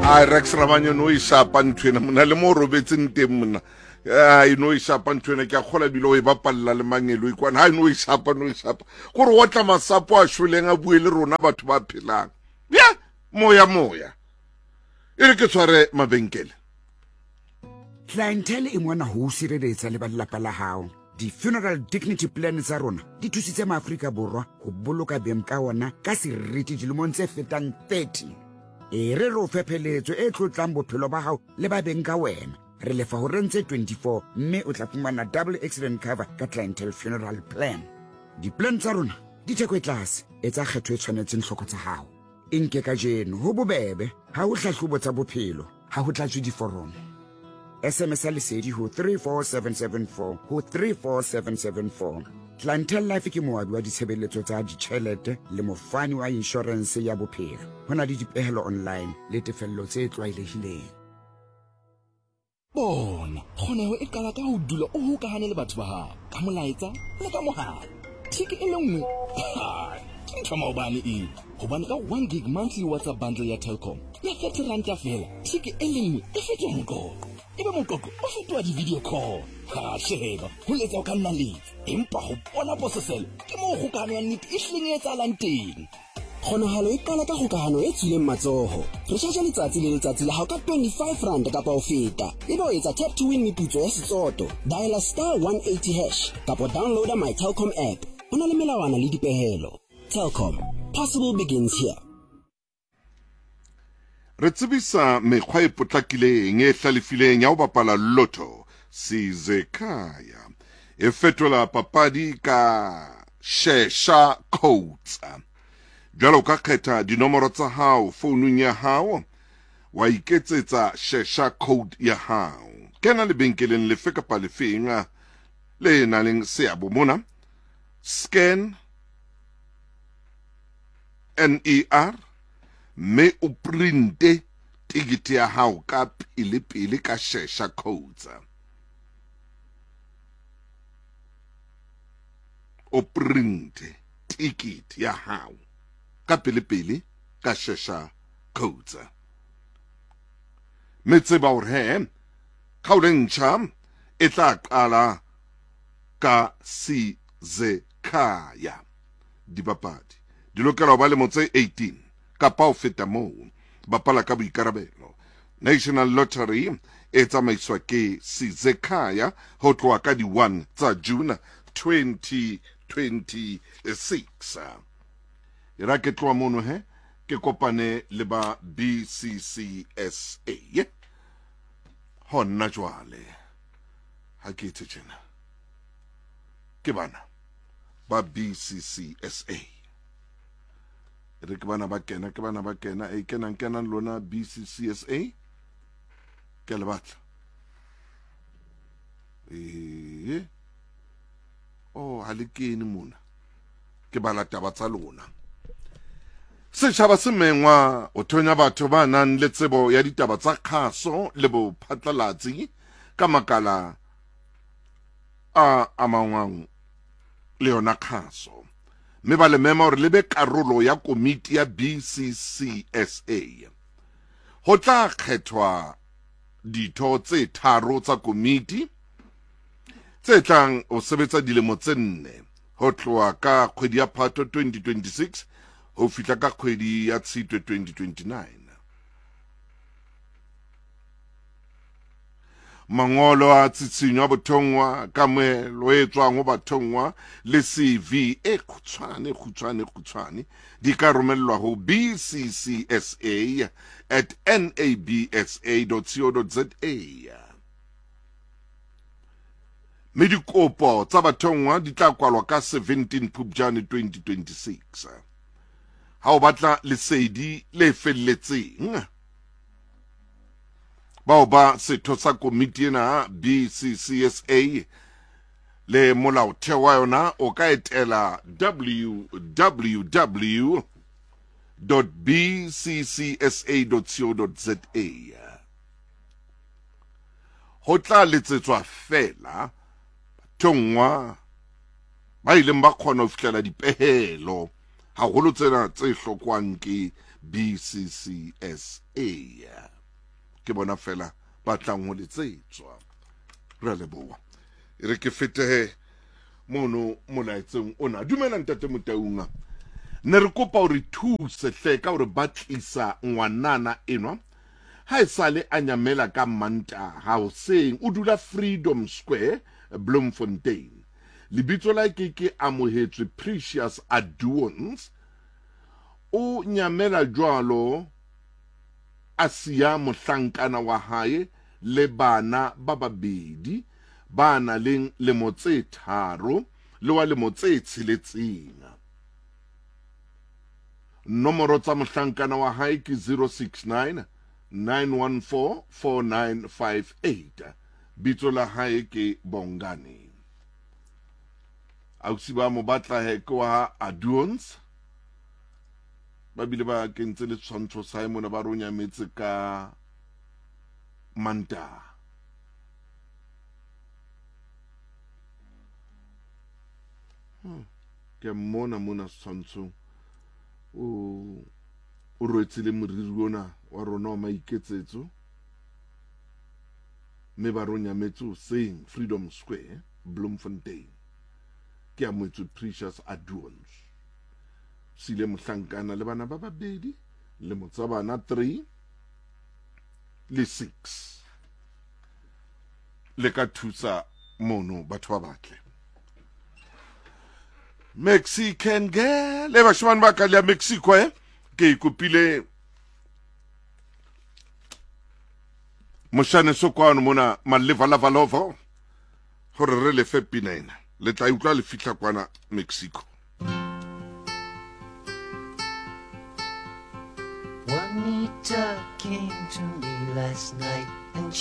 A Rex Rabanye no e shapa ntho ena mona le mo robetseng teng mona. A e no e shapa ntho ena ke a kgola bile o e bapalla le mangelo ikwana. Ha e no e shapa no e shapa. Gore o tla masapo a shweleng a bue le rona batho ba phelang. Ya moya moya. E re ke tshware mabenkele. Clientele e mona ho o sireletsa le ba lelapa la hao. Di-funeral dignity plan tsa rona di thusitse maAforika Borwa ho boloka beng ka ona ka seriti dilemong tse fetang 30. E re re o fe pheletso e tlotlang bophelo ba hao le ba beng ka wena. Re lefa horeng tse 24 mme o tla fumana double accident cover ka Clientele Funeral Plan. Di-plan tsa rona di theko e tlase, etsa kgetho e tshwanetseng tlhoko tsa hao. E nke kajeno, ho bobebe, ha ho hlahlobo tsa bophelo, ha ho tlatswe diforomo. SMS ya lesedi ho 34774 ho 34774. Clientele Life ke moabi wa ditshebeletso tsa ditjhelete le mofani wa inshorense ya bophelo. Ho na le dipehelo online le tefello tse tlwaelehileng. Bona, kgoneho e qala ka ho dula o hokahane le batho ba hao ka molaetsa le ka mohala. Thiki e le nngwe ke ntho maobane eo, hobane ka 1 gig monthly WhatsApp bundle ya Telkom ya 30 ranta feela, thiki e le nngwe e fetoha moqoqo, ebe moqoqo o fetoha di-video call. Ha sheba, ho letsa o ka nna letsa, empa ho bona pososelo ke moo kgokahano ya nnete e hlileng e etsahalang teng. Kgonahalo e qala ka kgokahano e tswileng matsoho. Recharge letsatsi le letsatsi la hao ka 25 rand kapa ho feta. Ebe o etsa tap to win meputso ya setsoto. Diala star 180 hash kapa downloada my Telkom app. Ho na le melawana le dipehelo. Telkom. Possible begins here. Re tsebisa mekgwa e potlakileng e hlalefileng ya ho bapala lotto Sizekhaya e fetola papadi ka Shesha Codes. Jwale o ka kgetha dinomoro tsa hao founung ya hao wa iketsetsa Shesha code ya hao. Kena lebenkeleng lefe kapa lefeng le nang le seabo mona. Scan NER mme o printe tikete ya hao ka pele pele ka Shesha Codes. O printe tikete ya hao ka pele pele ka Shesha Codes. Mme tseba hore he kgaolo e ntjha e tla qala ka Sizekhaya. Dibapadi di lokela ho ba lemo tse 18 kapa ho feta moo. Bapala ka boikarabelo. National Lottery e tsamaiswa ke Sizekhaya ho tloha ka di 1 tsa June 2026. E ra ke tloha mono he ke kopane le ba BCCSA. Hona jwale ha ke etse tjena ke bana ba BCCSA. E re ke bana ba kena, ke bana ba kena, e kenang kenang lona BCCSA. Ke a le batla. Ee. Oh, ha le kene mona. Ke bala taba tsa lona. Setjhaba se mengwa ho thonya batho ba nang le tsebo ya ditaba tsa kgaso le bophatlalatsi ka makala a amangwang le yona kgaso mme ba le mema hore le be karolo ya komiti ya BCCSA. Ho tla kgethwa ditho tse tharo tsa komiti tse tlang ho sebetsa dilemo tse nne ho tloha ka kgwedi ya Phato 2026 ho fihla ka kgwedi ya Tshitwe 2029. Mangolo a tshitshinyo a bothongwa, kamohelo e tswang ho bathongwa le CV e kgutshwane kgutshwane kgutshwane di ka romellwa ho bccsa at nabsa co za. Mme dikopo tsa bathongwa di tla kwalwa ka 17 Phupjane 2026. Ha o batla lesedi le felletseng, bao ba setho sa komiti ena BCCSA le molaotheo wa yona o ka etela www bccsa.co.za. Ho tla letsetswa feela bathongwa ba ileng ba kgona ho fihlela dipehelo haholo tsena tse hlokwang ke BCCSA. Ke bona fela ba tlang ho letsetswa. Re a leboha. E re ke fetehe mono molaetseng ona. Dumela Ntate Motaunga. Ne re kopa o re thuse hle ka hore batlisa ngwanana enwa ha e sale a nyamela ka Mantaha hoseng. O dula Freedom Square, Bloemfontein. Lebitso la ke ke Amohetswe Precious Aduons. O nyamela jwalo a siya mohlankana wa hae le bana ba babedi ba na leng lemo tse tharo le wa lemo tse tsheletseng. Nomoro tsa mohlankana wa hae ke 069 914 4958. Bitso la hae ke Bongani. Ausi ba mo batla he ke wa ha Aduons. Ba bile ba kentse le tshwantsho sa hae mona ba re o nyametse ka Mantaha. Ke mmona mona setshwantshong o o rwetse le moriri ona wa rona wa maiketsetso mme ba re o nyametse hoseng Freedom Square Bloemfontein. Ke amoetswe Precious Aduons. Sile mohlankana le bana ba babedi lemo tsa bana 3 le 6. Le ka thusa mono batho ba batle. Mexican girl le bashimane ba ka le ya Mexico eh ke ikopile moshane so kwano mona malevalavalova gore re lefe pina ena le tla utlwa le fihla kwana Mexico. Juanita came to me last night and